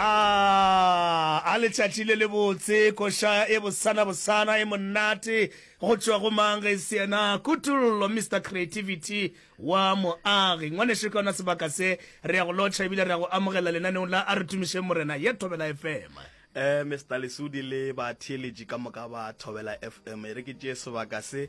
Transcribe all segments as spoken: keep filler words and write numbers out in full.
A a letšatši le lebotse, koša e bosana bosana e monate go tšwa go mang ge e se yena Kutollo Mister Creativity wa Moagi. Ngwanešu ka ona sebaka se re ya go lotšha ebile re ya go amogela lenaneong la A Re Tumišeng Morena ye Thobela F M. Eh Mister Lesudi le batheeletši ka moka ba Thobela F M, e re ke tšee sebaka se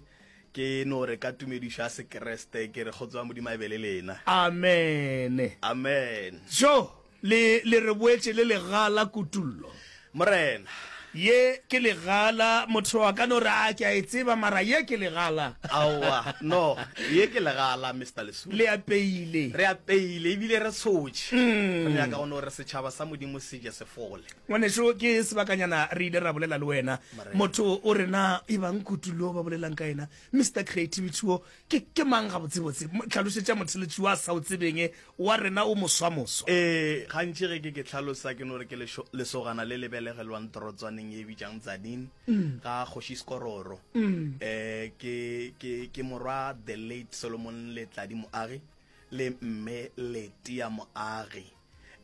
ke no re ka tumedišo ya Sekriste ke re kgotso ya Modimo a e be le lena. Amen. Amen. Jo, le, le re boetše le legala Kutollo. Morena. Ye ke legala, motho a ka no re, a ke a e tseba, mara ye ke legala. Aowa, no, ye ke legala, Mister Lesudi. Le apeile. Re apeile, ebile re tshotše. Re nyaka go no re setšhaba sa Modimo se je se fole. Ngwanešu, ke sebakanyana re ile ra bolela le wena. Motho o re, na e bang Kutullo ba bolelang ka yena, Mister Creativity wo, ke, ke mang gabotsebotse? Hlalošetša motheletši wa sa o tsebeng wa rena o moswamoswa. Ee, gantši ge ke ke hlalosa ke no re ke lešo, lesogana le le belegelwang torotswaneng ye e bitšang Tzaneen, ga Kgoši Skororo. Eh, ke, ke, ke morwa the late Solomon Letladi Moagi le mme Letia Moagi.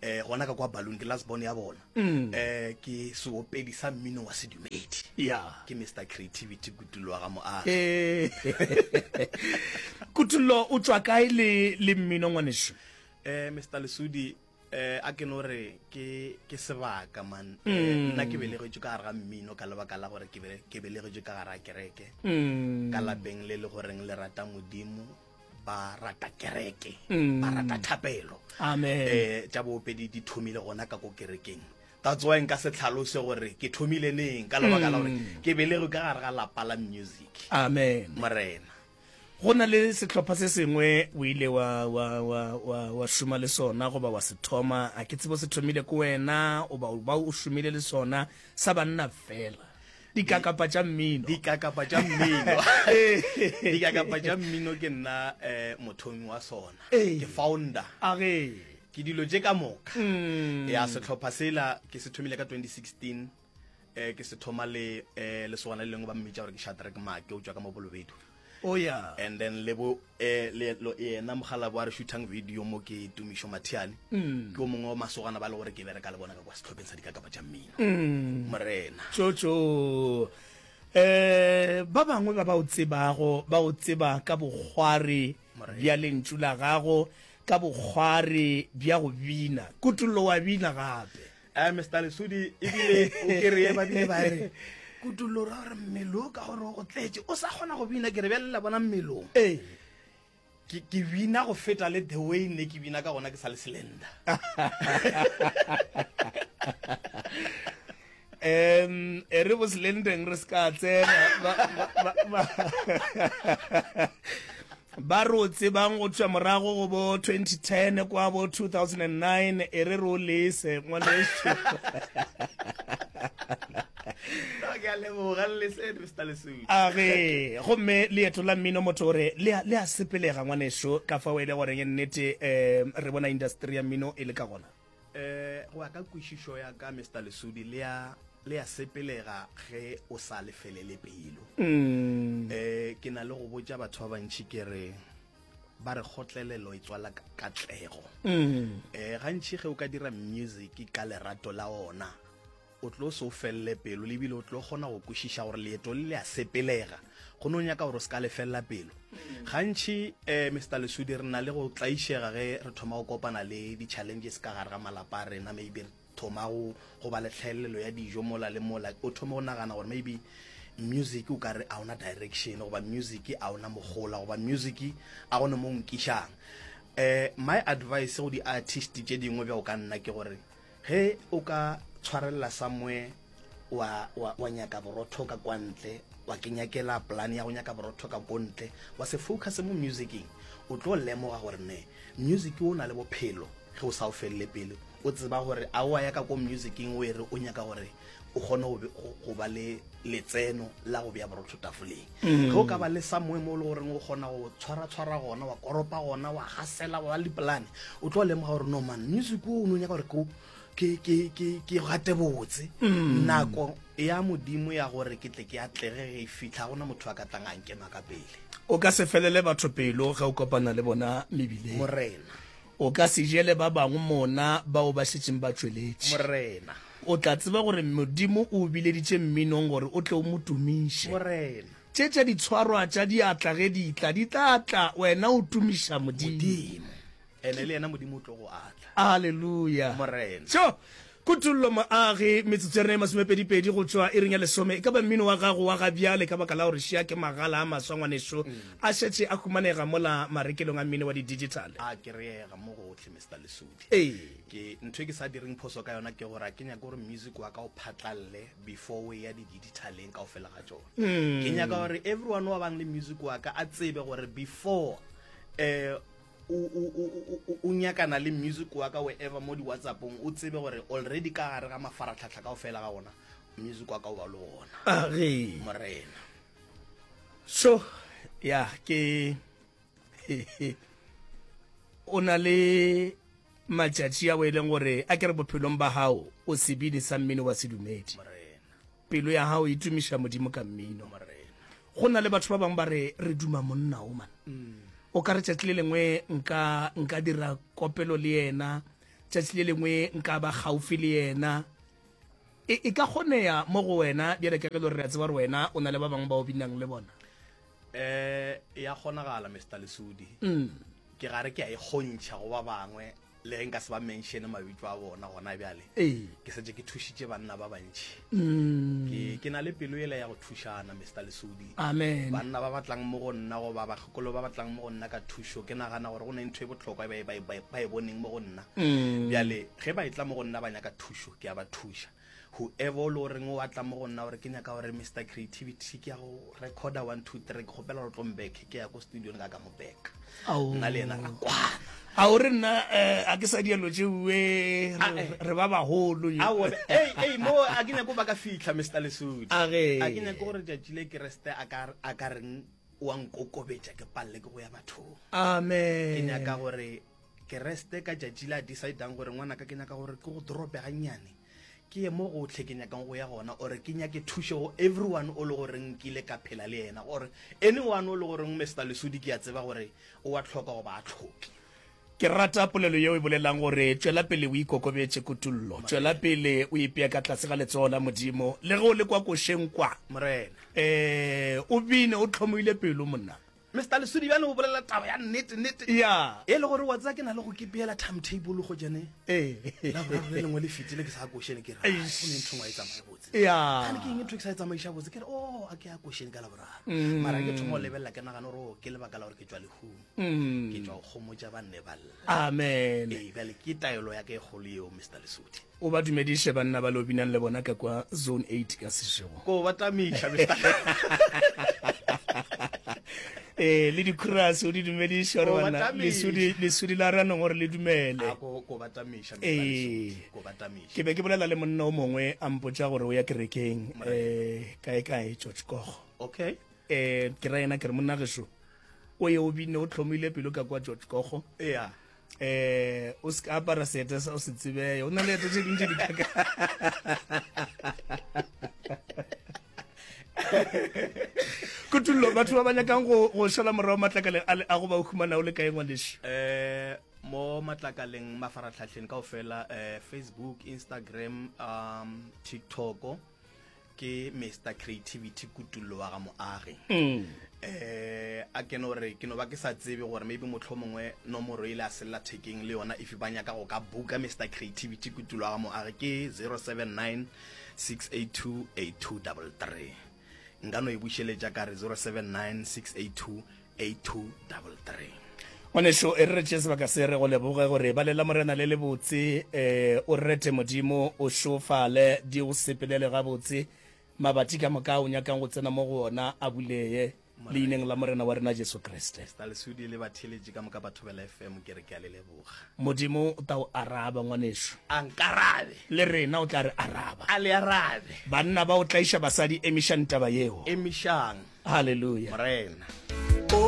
Eh, gona ka kwa Balloon, ke last born ya bona. Eh, ke seopedi sa mmino wa sedumedi. Ya. Ke Mister Creativity Kutullo wa ga Moagi. Eh. Kutullo, o tšwa kae le, le mmino ngwanešu? Eh, Mister Lesudi, eh, a ke no re ke, ke sebaka man. Eh, nna ke belegetšwe ka gare ga mmino ka lebaka la gore ke bele-, ke belegetšwe ka gare ga kereke. Ka lapeng le le goreng le rata Modimo, ba rata kereke, ba rata thapelo. Amen. Eh, tša boopedi di thomile gona ka ko kerekeng. That's why nka se tlhalose gore ke thomile neng ka lebaka la gore ke belegwe ka gare ga lapa la music. Amen. Morena. Go na le sehlopha se sengwe o ile wa, wa, wa, wa, wa šoma le sona goba wa se thoma, a ke tsebo se thomile ke wena oba o ba o šomile le sona, sa banna fela. Dikakapa tša mmino. Dikakapa tša mmino. Dikakapa tša mmino ke nna eh, mothomi wa sona. Ke founder. A ge. Ke dilo tše ka moka. Ya sehlopha sela ke se thomile ka twenty sixteen, eh, ke se thoma le, eh, lesogana le lengwe ba mmitša gore ke Shadrack Make, o tšwa ka mo Bolobedu. Oh yeah. And then le bo, eh, le, lo, yena mogala bo a re shootang video mo ke Tumišo Mathiane. Ke o mongwe wa masogana ba le gore ke bereka le bona ka kwa sehlopheng sa dikakapa tša mmino. Morena. Tšotšo. Eh, ba bangwe ba ba o tsebago, ba o tseba ka bokgwari bja lentšu la gago, ka bokgwari bja go bina. Kutullo wa bina gape. Eh, Mister Lesudi, ebile o kere ba bile ba re, Kutullo ra gore mmele o ka gore o go tletše, o sa kgona go bina, ke re bjale la bona mmelong. Ee. Ke, ke bina go feta le the way ne ke bina ka gona ke sa le slender. Em, e re bo slendeng re se ka tsena, ba, ba, ba, ba, ba re o tsebang go tšwa morago go bo twenty ten kwa bo two thousand and nine, e re re o lese ngwanešu. Ke a leboga, le lese, Mister Lesudi. A ge, gomme leeto la mmino motho o re le a, le a sepelega ngwanešu, ka fao e le goreng nnete, um, re bona industry ya mmino e le ka gona. Eh, go ya ka kwešišo ya ka, Mister Lesudi, le a, le a sepelega ge o sa lefelele pelo. Eh, ke na le go botša batho ba bantši ke re ba re kgotlelelo e tswala katlego. Eh, gantši ge o ka dira music ka lerato la ona, o tlo se o felele pelo, le ebile o tlo kgona go kwešiša gore leeto le le a sepelega. Go no nyaka gore o se ka lefelela pelo. Gantši, eh, Mister Lesudi, re na le go tlaišega ge re thoma go kopana le di-challenges ka gare ga malapa a rena, maybe re thoma go, go ba le tlhaelelo ya dijo mola le mola, o thoma go nagana gore maybe music o ka re a ona direction, goba music a ona mogola, goba music a gone mo nkišang. Eh, my advice go di-artist tše dingwe bjao ka nna ke gore ge o ka tshwarelela somewhere wa, wa, wa nyaka borotho ka kwa ntle, wa ke nyakela plan ya go nyaka borotho ka ko ntle, wa se focus mo musicing, o tlo lemoga gore ne music o na le bophelo ge o sa o felele pele. O tseba gore a wa ya ka ko musicing o e re o nyaka gore o kgone go, go, go ba le letseno la go bea borotho tafoleng. Ge o ka ba le somewhere mo e le goreng o kgona go tshwara-tshwara gona, wa koropa gona, wa gasela, wa ba le dipolane, o tlo lemoga gore no man, music o no nyaka gore ke, ke, ke, ke, ke gate botse. Nako ya Modimo ya gore ke tle ke atlege ge e fihla, gona motho a ka tlang a nkema ka pele. O ka se felele batho pelo ge o kopana le bona mebileng. Morena. O ka se jele ba bangwe mona bao ba šetšeng ba tšweletše. Morena. O tla tseba gore Modimo o o bileditše mminong gore o tle o mo tumiše. Morena. Tše tša ditshwarwa tša diatla ge di tla, di tla tla wena o tumiša Modimo. Modimo. Ene le yena Modimo o tlo go atla. Aleluya. Morena. Tšo! Kutollo Moagi, metsotso ya rena e masomepedipedi go tšwa iring ya lesome. E ka ba mmino wa gago wa ga bjale ka baka la gore šia ke magala a maswa ngwaneso a šetše a humanega mola marekelong a mmino wa di-digital. A kereyega mo gohle Mister Lesodi. Ee. Ke ntho e ke sa direng phoso ka yona ke gore a ke nyake gore music wa ka o phatlalle before o eya di-digitaleng kaofela ga tšona. Ke nyaka gore everyone wa bang le music wa ka a tsebe gore before eh o, o, o, o, o nyakana le music wa ka wherever mo di-WhatsAppong, o tsebe gore already ka gare ga mafaratlhatlha kaofela ga ona music wa ka o ba le gona. A ge. Morena. So, ya ke o na le matšatši a o e leng gore a ke re bophelong ba gago o sebini sa mmino wa sedumedi. Morena. Pelo ya gago e tumiša Modimo ka mmino. Morena. Go na le batho ba bangwe ba re re duma monna o man. O ka re tšatši le lengwe nka nka dira kopelo le yena, tšatši le lengwe nka ba gaufi le yena. E, e ka kgoneya mo go wena bjale ka ge le gore re a tseba gore wena o na le ba bangwe ba o binang le bona? Eh ya kgonagala Mister Lesodi. Ke gare ke a e kgontšha go ba bangwe le ge nka se ba mention mabitso a bona gona bjale. Ee. Ke setse ke thušitše banna ba bantši. Ke ke na le pelo ela ya go thušana Mister Lesodi. Amen. Banna ba batlang mo go nna goba bakgekolo ba batlang mo go nna ka thušo, ke nagana gore go ne ntho e bohlokwa e ba e ba e boneng mo go nna. Bjale ge ba etla mo go nna ba nyaka thušo, ke a ba thuša. Whoever o le goreng o atla mo go nna gore ke nyaka gore Mister Creativity ke ya go recorda one two three, ke kgopela gore tlo mbeke, ke ya ko studio ka ka mo backa. Nna le yena ra kwana. A o re nna eh, a ke sa dielo tšeue re ba bagolo. Aowa, ei, ei, mo a ke nyako ba ka fihla Mister Lesodi. A ge. A ke nyako gore tšatši le Kriste a ka a ka reng wa nkokobetša ke palle ke go ya bathong. Amen. Ke nyaka gore Kriste ka tšatši le a decidang gore ngwanaka ke nyaka gore ke go drope gannyane, ke ye mo gotlhe ke nyakang go ya gona, ore ke nyake thušo go everyone o le goreng nkile ka phela le yena, gore anyone o le goreng Mister Lesodi ke a tseba gore o a tlhoka goba a tlhoke. Ke rata polelo yeo e bolelang gore tšwela pele o ikokobetše Kutollo, tšwela pele o ipea ka tlase ga letsogo la Modimo, le ge o le kwa košeng kwa. Morena. Eh, o bine o tlhomoile pelo monna. Mister Lesodi bjane o bolela taba ya nnete nnete. Ya. E le gore wa tseba ke na le go kepeela timetable go jane. Ee. La boraro le lengwe le fetile ke sa košene ke re, Eish. go ne ntho engwe e tsamaye botse. Ya. Gane ke eng ntho e ke sa e tsamaiša botse, ke re oh a ke ya košene ka la boraro. Mara ke thoma go lebelela ke nagana gore oh ke lebaka la gore ke tšwa lehung. Ke tšwa go kgomotša ba nne ba lla. Amen. Ee, bjale ke taelo ya ka e kgolo yeo Mister Lesodi. O ba dumediše banna ba le o binang le bona ka kwa zone eight ka sešego. Ko ba tamiša Mister Eh, le dikhurase o di dumediše gore Ko ba banna tamiša. lesodi lesodi la ranong gore le dumele. A ko ko ba tamiša Mister Ee. Lesodi. Ko ba tamiša. Ke be ke bolela le monna o mongwe a mpotša gore o ya kerekeng eh kae kae George Kogo. Okay. Eh ke ra yena ke re monna gešo o ye o bine o tlhomile pelo ka kwa George Kogo. Yeah. Eh o se ka apara seeta sa o se tsebeye, o na le eto tše dintši di kaka. Kutullo, batho ba ba nyakang go go šala morago matlakaleng a le a go ba o humana o le kae ngwanešu? Eh mo matlakaleng mafaratlhatlheng kaofela, eh Facebook, Instagram, um TikTok ke Mister Creativity Kutullo wa ga Moagi. Eh a ke no re ke no ba ke sa tsebe gore maybe mohlomongwe nomoro ile a sella thekeng le yona, if ba nyaka go ka booka Mister Creativity Kutullo wa ga Moagi ke zero seven nine six eight two eight two double three. Nka no e bušeletša ka re zero seven nine six eight two eight two double three. Ngwanešu, e re re tšee sebaka se re go leboge gore balela Morena le lebotse, eh o rete Modimo, o šofale, di go sepelele gabotse, mabati ka moka o nyakang go tsena mo go ona a buleye leineng la Morena wa rena Jesu Kriste. Mister Lesodi le batheeletši ka moka ba Thobela F M, ke re ke a le leboga. Modimo o tla o araba ngwanešu. A nkarabe. Le rena o tla re araba. A le arabe. Banna ba o tlaiša basadi, emišang taba yeo. Emišang. Hallelujah. Morena.